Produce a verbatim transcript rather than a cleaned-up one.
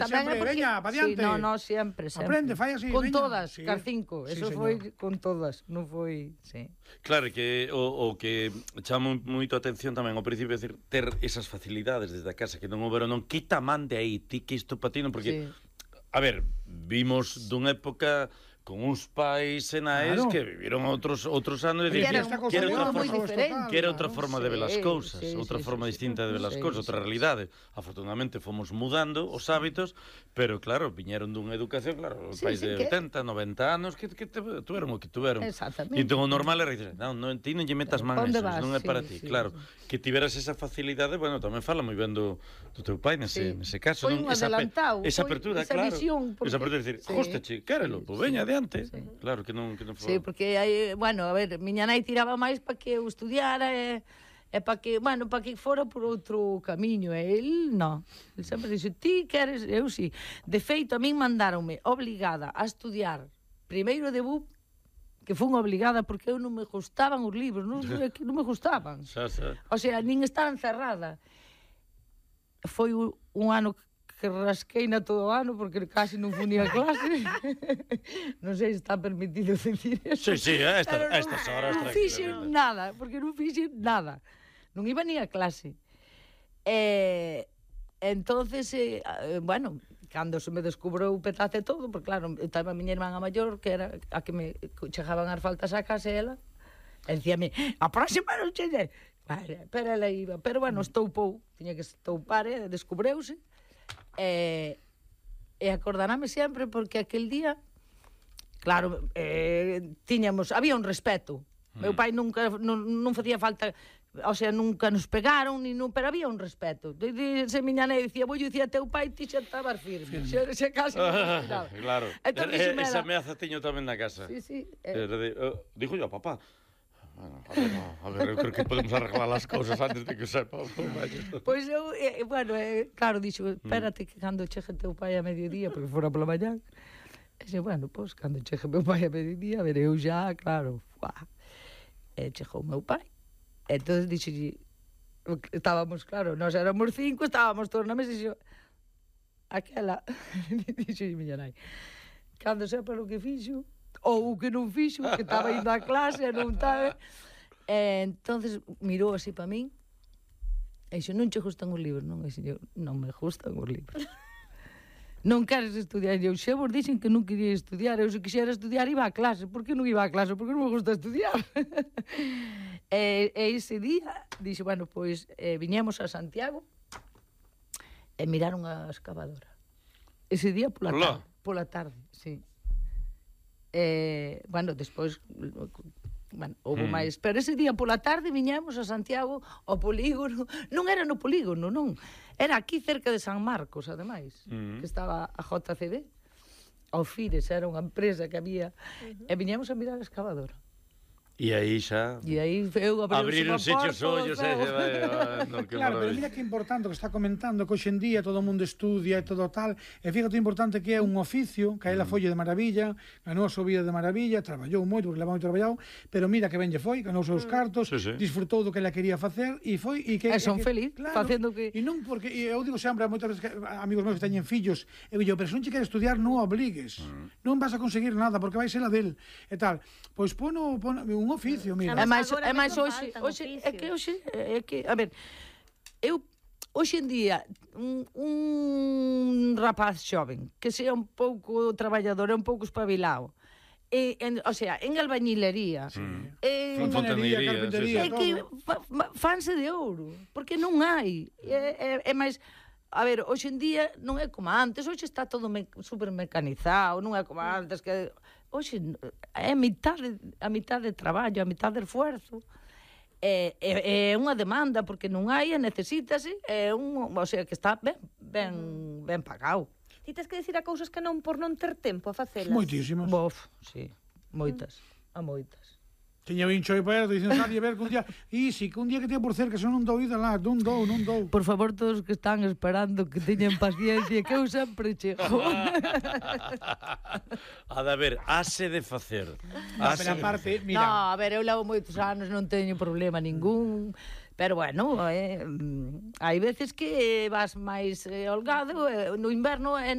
Tamén sempre, veña, pa diante. Sí, no, no, sempre, sempre. Aprende, fai así, con veña. todas, Sí. car cinco, Sí, eso señor. foi con todas, non foi, sí. Claro, que o, o que chama moito a atención tamén ao principio, é dicir, ter esas facilidades desde a casa que non houberon, non quita man de aí, ti que isto patino, porque, sí. A ver, vimos dunha época con uns pais e naes claro. que viviron outros outros anos e que era, que era outra moi forma, diferente, que era outra forma de ver as sí, cousas, sí, outra sí, forma sí, distinta sí, de ver as sí, cousas, outra sí, realidade. Afortunadamente fomos mudando os hábitos, pero claro, viñeron dunha educación, claro, sí, pais sí, de que... oitenta, noventa anos que, que te, tuveron o que tuveron. Exactamente. E entón o normal era dizer, non, non, ti non lle metas man Onde esos, vas? non é para Sí, ti, sí, claro. Sí. Que tiveras esa facilidade, bueno, tamén fala moi ben do, do teu pai nese, Sí. nese caso. Foi non? un Esa, adelantado, esa foi apertura, esa claro. visión, porque... Esa apertura de decir, Sí. góstache, quérelo, Sí, pois sí. veña adiante. Sí. Claro, que non, que non foi. Sí, porque hai, bueno, a ver, miña nai tiraba máis para que eu estudiara e, e para que, bueno, para que fora por outro camiño, e el non. El sempre dixo, ti queres, eu si. Sí. De feito, a min mandaronme obligada a estudiar primeiro de B U P, que fun obligada porque eu non me gustaban os libros, non, que non me gustaban. Xa, xa. O sea, nin estaba encerrada. Foi un, un ano que rasqueina todo o ano porque casi non funía a clase. Non sei se está permitido decir eso. Sí, sí, a esta, Pero a estas non, horas. non fixen nada, porque non fixen nada. Non iba ni a clase. E, entonces, eh, bueno, cando se me descubrou o petate todo, porque claro, estaba a miña irmán maior, que era a que me chegaban as faltas a casa, e ela, e dicíame, a próxima non chegue. Vale, pero ela iba, pero bueno, estoupou, tiña que estoupar, e descubreuse, e, e acordarame sempre, porque aquel día, claro, eh, tiñamos, había un respeto. Mm. Meu pai nunca, non, non facía falta, o sea, nunca nos pegaron, ni non, pero había un respeto. De, de, se miña nai dicía, vou dicía teu pai, ti xa estabas firme. Se, se casi non ah, claro. Entón, e, esa ameaza tiño tamén na casa. Sí, sí. Eh. Uh, dijo yo, papá, bueno, a ver, no, a ver, eu creo que podemos arreglar as cousas antes de que sepa. Pois eu, eh, bueno, eh, claro, dixo, espérate que cando chegue teu pai a mediodía, porque fora pola mañá, e xe, bueno, pois, cando chegue meu pai a mediodía, a ver, eu já, claro, fuá. E chegou meu pai. Entón, dixo, estábamos, claro, nós éramos cinco, estábamos todos na mesa, e dixo, aquela, dixo miña nai, cando sepa o que fixo, ou o que non fixo, que estaba indo a clase, non estaba... E, entonces mirou así para min, e dixo, non che gustan os libros? Non, e dixo, non me gustan os libros. Non queres estudiar? E eu, xa vos dixen que non quería estudiar, eu se quixera estudiar iba a clase. Por que non iba a clase? Porque non me gusta estudiar. e, e ese día, dixo, bueno, pois, eh, viñemos a Santiago e miraron a excavadora. Ese día pola Hola. tarde, pola tarde, sí. Eh, bueno, despois, bueno, houve Hmm. máis, pero ese día pola tarde viñemos a Santiago ao polígono, non era no polígono, non, era aquí cerca de San Marcos, ademais, Hmm. que estaba a J C B, ao Fires, era unha empresa que había, uh-huh. e viñemos a mirar a excavadora. E aí xa... E aí eu abriron unha sitios porta, ollos, e... eh, no, que claro, pero maravilla. mira que importante que está comentando que hoxe en día todo o mundo estudia e todo tal, e fíjate o importante que é un oficio, que a ela foi de maravilla, ganou a súa vida de maravilla, traballou moito, porque leva moito traballado, pero mira que ben lle foi, ganou os seus cartos, Sí, sí. disfrutou do que ela quería facer e foi e que E son que, feliz, facendo que- E non porque e eu digo sempre a moitas veces que amigos meus que teñen fillos, eu digo, pero se non che queres estudiar, non obligues. Non vas a conseguir nada porque vai ser a del e tal. Pois pono, pono un oficio, mira. É máis, Agora é máis mesmo hoxe, faltan hoxe é oficios. que hoxe é que, a ver, eu hoxe en día un, un rapaz xoven que sea un pouco traballador, é un pouco espabilado. E, en, o sea, en albañilería. Sí. En, Fontanería, Fontanería, carpintería, é todo. que fa, fa, fanse de ouro, porque non hai. É, é, é máis, a ver, hoxe en día non é como antes, hoxe está todo me, super mecanizado, non é como antes que hoxe é a mitad de, a mitad de traballo, a mitad de esfuerzo. É, é, é unha demanda porque non hai, e necesítase, é un, o sea, que está ben ben ben pagado. Ti tes que decir a cousas que non por non ter tempo a facelas. Moitísimas. Bof, sí, moitas, a moitas. Tiña vincho aí perto, dicen, nadie ver que un día... E si, que un día que teña por cerca, se non dou ida lá, non dou, non dou. Por favor, todos que están esperando que teñan paciencia, que eu sempre chego. A de ver, hase de facer. No, Hase pero de aparte, facer. mira... No, a ver, eu levo moitos anos, non teño problema ningún, Pero bueno, eh, mm, hai veces que vas máis eh, holgado, eh, no inverno é